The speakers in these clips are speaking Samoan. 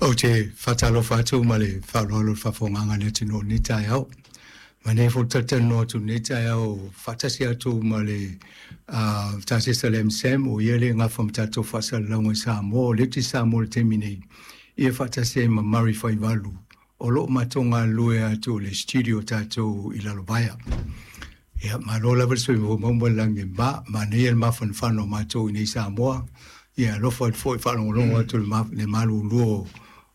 Ou te faatalofa atu ma le faaaloalo i le faafofogaaga a le atunuu i lenei taeao. Manaia foi le talatalanoa atu i lenei taeao faatasi atu ma le Tasesa le MSAM, o ia lea e gafa ma tatou faasalalauga i Samoa, o lea ou te i Samoa i le taimi nei, ia faatasi ai ma Murray Faivalu, o lo o matou galulue atu i le studio tatou i Lalovaea. Ia, malo lava le soifua maua ma le lagi e mama, manaia le mafanafana o matou i inei i Samoa. Ia alofa atu foi faalogologo atu i le malulu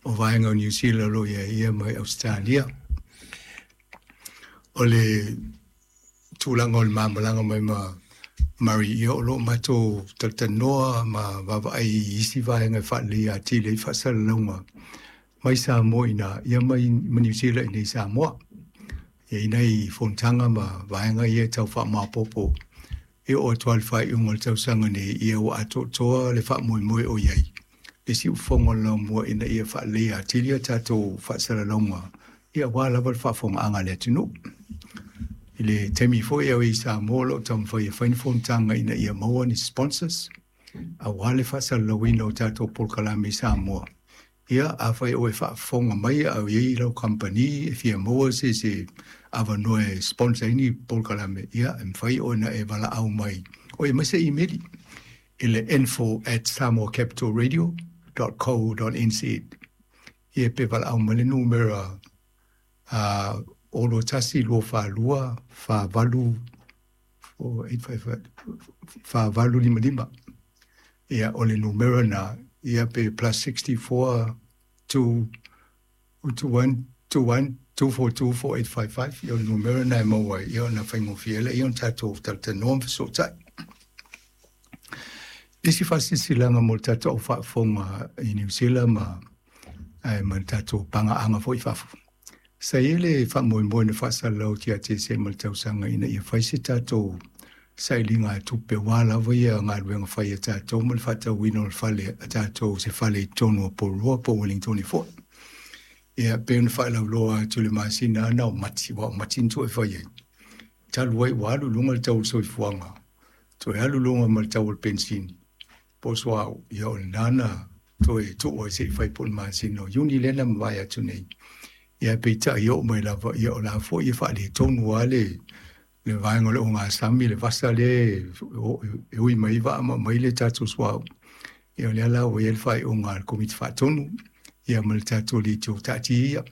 o vaega o Niu Sila o lo o i ai ia mai Ausetalia. O le tulaga o le ma malaga mai ma Murray, ia o lo o matou talatalanoa ma vaavaai i isi vaega e faaleleia atili ai faasalalauga mai Samoa i ina, ia mai Niu Sila i inei i Samoa. E i ai nai fonotaga ma vaega ia e tau faamaopoopo e oo atu lava i le faaiuga o le tausaga nei, ia ua atoatoa le faamoemoe o i ai le siufofoga o le laumua ina ia faaleleia atili a tatou faasalalauga, ia aua lava le faafofogaaga a le atunuu. I le taimi foi a o i Samoa, o lo o taumafai e fai ni fonotaga ina ia maua ni sponsors aua le faasalalauina o tatou polokalame i Samoa. Ia, afai o e faafofoga mai a o i ai lau kamupani e fia maua se avanoa e sponsor ai ni polokalame, ia, e mafai ona e valaau mai o e aumai se imeli i le info@samoacapitalradio.co.nz. Ia, pe valaau mai le numera 021 242 48 4855. Ia, o le numera na, ia pe +64 2 21 21 242 4855. Ia, o le numera na e maua ai, ia ona faigofie lea ia ona tatou talatalanoa ma fesootai. Isi faasilasilaga mo le tatou au faafofoga i Niu Sila ma ae ma le tatou pagaaga foi i fafo. Sa i ai le faamoemoe na faasalalau atu ia Tesema o le tausaga ina ia fai se tatou sailiga tupe aua lava ia galuega fai a tatou ma le faatauina o le fale a tatou, se fale i totonu o Porirua po o Wellington foi. Ia, pei ona faalauiloa atu i le masina na o Mati, aua o Mati na toe fai ai. Talu ai ua alu i luga le tau o le soifuaga, toe alu i luga ma le tau o le penisini po o suauu, ia o lena na toe tuu ai se i fai po o le masina o Iuni lea na mavae atu nei. Ia, peitai oo mai lava, ia o la foi e faaletonu lava le vaega o le ogasami, le vasa lea e ui mai vaa ma aumai le tatou suauu. Ia, o lea la ua i ai le faaiuga a le Komiti Faatonu ia ma le tatou leitio taatia ia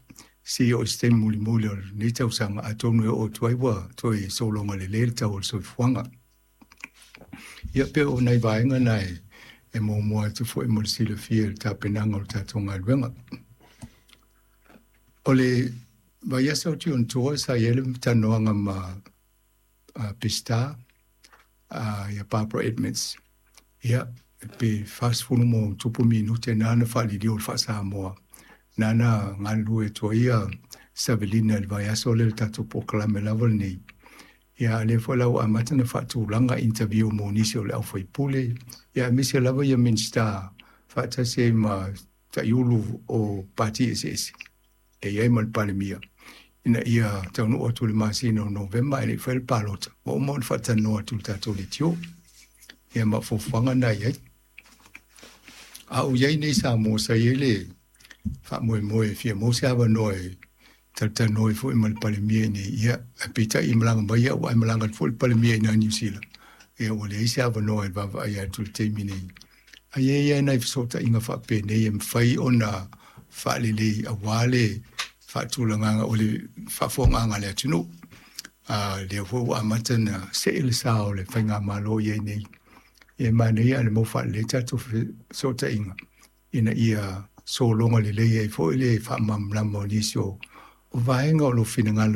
se i oo i se taimi mulimuli o lenei tausaga, atonu e oo atu ai ua toe sologa lelei le tau o le soifuaga. Ia, pe o nai vaega na e muamua atu foi mo le silafia i le tapenaga o le tatou galuega. O le vaiaso atu i ona tua sa i ai le talanoaga ma Peseta ia Barbara Edmonds. Ia, pe 40+ minute na na faaliliu o le faa-Samoa na na galulue atu ai ia Savelina i le vaiaso lea i le tatou polokalame lava lenei. Ia, lea foi la ua amata ona faatulaga interview mo nisi o le aufaipule, ia aemaise lava ia Minisita faatasi ai ma taiulu o pati eseese e i ai ma le Palemia, ina ia taunuu atu i le masina o Novema e le i fai le palota, ua uma ona faatalanoa atu i le tatou leitio. Ia, ma fuafuaga na i ai. A o i ai nei Samoa, sa i ai le faamoemoe e fia maua se avanoa e talatalanoa ai foi ma le Palemia i nei, ia, peitai e malaga mai au ae malaga atu foi le Palemia i Niu Sila. Ia, ua leai se avanoa e vaavaai atu i le taimi nei. Ae i ai lava nai fesootaiga faapenei e mafai ona faalelei aua le faatulagaga o le faafofogaaga a le atunuu. Lea foi ua amata ona see le sa o le faigamalo i ai nei. E manaia ae le mau faalelei tatou fesootaiga ina ia sologa lelei ai foi le faamalamalama o nisi o vaega o lo o finagalo.